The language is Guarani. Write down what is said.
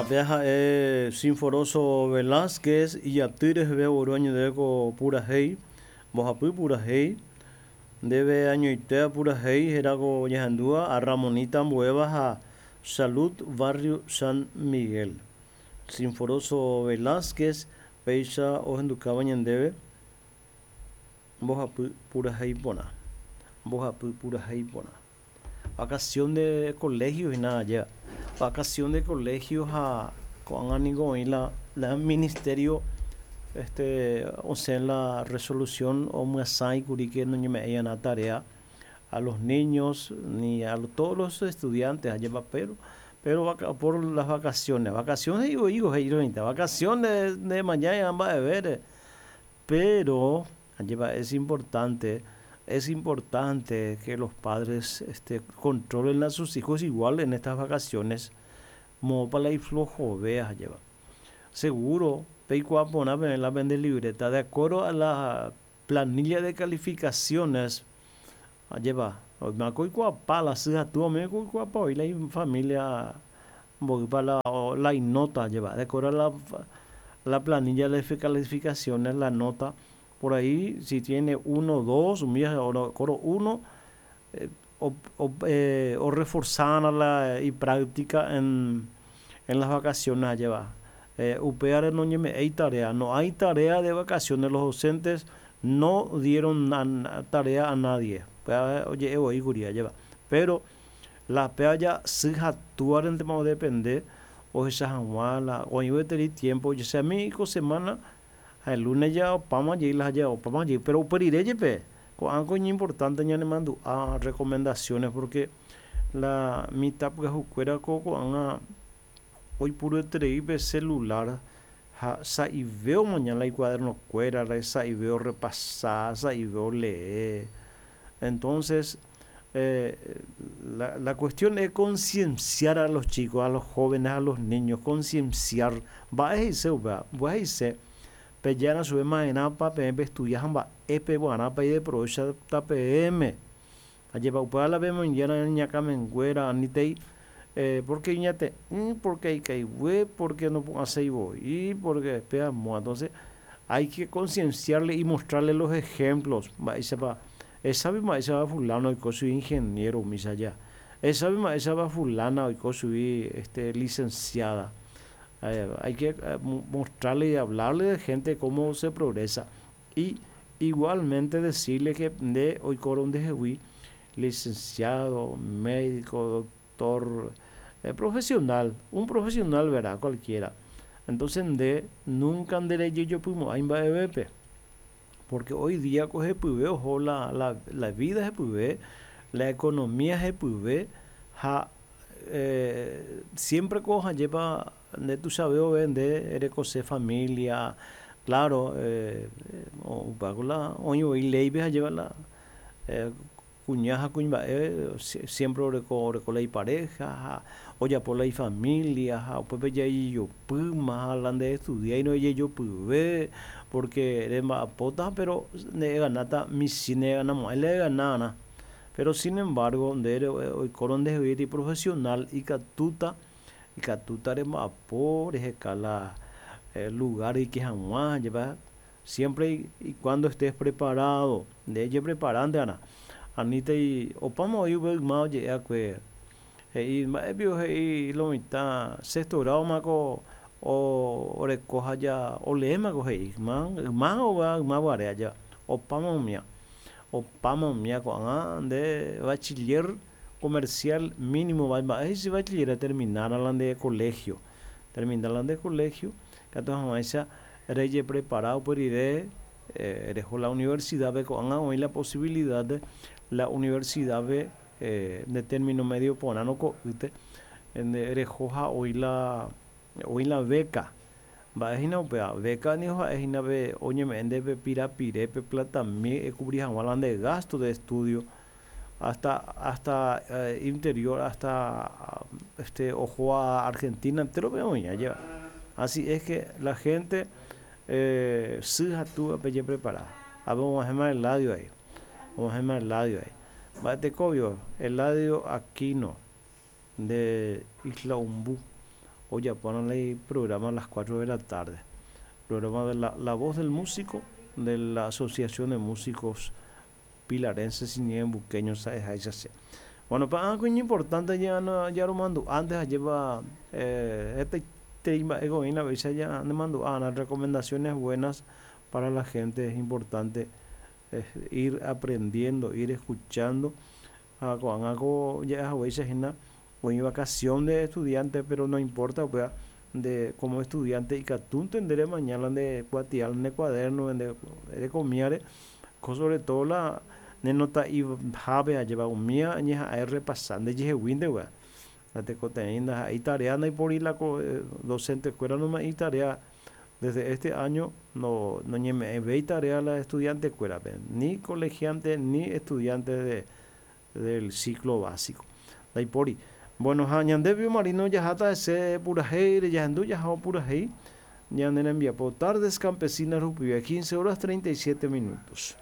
Pe ha'e Sinforoso Velázquez ijaty reheve ogueru añoite ko purahéi, mbohapy purahéi, ndéve añoite purahéi héra ko ñahendúva a Ramonita ambuéva ha Salud Barrio San Miguel. Sinforoso Velázquez péicha ohendukáva ñandéve mbohapy purahéi porã. Mbohapy purahéi porã. Vacación de colegio hína ajéva. Vacación de colegio ha ko'ág̃a niko oĩ la la ministerio este osẽ la resolución omyasãikuri que noñeme'ẽi'arã tarea a los niños ni a todos los estudiantes ajépa pero pero por las vacaciones. Vacación he'i voi ko he'i roĩta vacaciones nemañáiva mba'evére pero ajépa es importante es importante que los padres este controlen a sus hijos igual en estas vacaciones moõpa la iflohove ajépa. Seguro peikuaa porã peẽ la pende libreta de acuerdo a la planilla de calificaciones ajépa oiméko oikuaapa la sy ha túva oiméko oikuaapa voi la ifamilia mboýpa la la inóta ajépa de acuerdo a la la planilla de calificaciones la nota por ahí si tiene uno, dos, umi coro uno o reforzarã la ipráctica en en las vacaciones ajépa upévare noñeme'ẽi tarea no hay tarea de vacaciones los docentes no dieron tarea a nadie upéva oje'e voi kuri ajépa pero la péva ja sy ha túvarentema odepende ohecha hag̃ua la oĩ gueteri tiempo ojechami ko semana ha el lunes ja opáma jey la ja opáma jey pero upe rire jepe ko'ág̃a ko iñimportante ñanemandu'a recomendaciones porque la mitã pyahukuéra ko ko'ág̃a oipurueterei pe celular ha sa'ive omaña la icuadernokuérare sa'ive orepasa sa'ive olee entonces la la cuestión es concienciar a los chicos a los jóvenes a los niños concienciar mba'e he'ise upéva mba'e he'ise pejára chupe ma'erãpa peẽ peestudia ha mba'épe guarãpa ideprovéchata peẽme ajépa upéva la pemoingiára ñakãmenguéra anítei porque iñate'ỹ porque ikaigue porque nopu'ãséi voi porque péva entonces hay que concienciarle y mostrarle los ejemplos mba'éichapa esápe mba'éichapa fulano oiko chugui ingeniero umícha aja esápe mba'éichapa fulana oiko chugui este licenciada hay que mostrarle y hablarle de gente cómo se progresa y igualmente decirle que nde oikórõ ndehegui licenciado, médico, doctor, profesional, un profesional verá cualquiera entonces nde nunca nderejejopymo'ãi mba'evépe porque hoy día ko hepyve oho la la la vida hepyve la economía hepyve ha siempre ko ajépa nde tuichave ove nde erekose familia claro upévako la oĩ voi léipe ajépa la kuña ha kuimba'e siempre oreko oreko la ipareja ha ojapo la ifamilia ha upépe jajejopýma ha la ndeestudiáirõ ejejopyve porque remba'apóta pero ne'ẽganáta michĩ ne'ẽganamo'ãi la eganarã pero sin embargo nde oikórõ ndehegui profesional ikatúta ikatúta remba'apo reheka la lugar reike hag̃ua ajépa siempre y cuando estés preparado nde ejepreparánte'arã anítei opáma voi upe yma oje'e'akue he'i mba'épio he'i lo mitã sexto grado-mako oreko ha ja oleémako he'i yma yma yma guare aja opáma umía opáma umía ko'ág̃a nde bachiller comercial mínimo mba'e he'ise bachiller terminara la nde colegio terminar la nde colegio katu hag̃uáicha rejeprepara upe rire reho la universidad-pe ko'ág̃a oĩ la posibilidad de la universidad-pe nde término medio porãrõ ko'ýte nde reho ha oĩ la oĩ la beca mba'e hína upéva beca niko ha'e hína pe oñeme'ẽ ndéve pirapire pe platami ekubri hag̃ua la nde gasto de estudio hasta hasta interior hasta este oho a Argentina enterope oĩ ajépa así es que la gente sy ha túva pejeprepara ápe og̃uahẽma Eladio ahí og̃uahẽma Eladio ahí mba'etekóvio Eladio Aquino nde Isla Umbu. Ojapórõ la programa a las 4 de la tarde. Programa de la Voz del Músico de la Asociación de Músicos Pilarenses y Ñeembuqueños ha'eháicha che. Bueno, pa'ã ko iñimportante ya jaromandu'a antes ajépa hetaiterei mba'e oĩna péicha ya nemandu'a'arã recomendaciones buenas para la gente es importante ir aprendiendo, ir escuchando ha ko'ág̃a ko ja'ehaguéicha hína oĩ vacación de estudiante pero no importa upéva nde como estudiante ikatúnte nde remaña la nde kuatia, nde cuaderno, nde rekomiáre ko sobre todo la ne nota'ihápe ajépa umíva ñeha'ã errepasa ndejeheguínte upéva ndatekotevẽi ndaha'éi tarea ndaipóri la docente kuéra nome'ẽi tarea desde este año no noñeme'ẽvéi tarea la estudiante kuérape ni colegiante ni estudiante de del ciclo básico ndaipóri. Bueno ha ñande Pío Marino jaháta hese purahéire jahendu jaha purahéi ñane rembiapo Tardes Campesinas rupive 15 horas 37 minutos.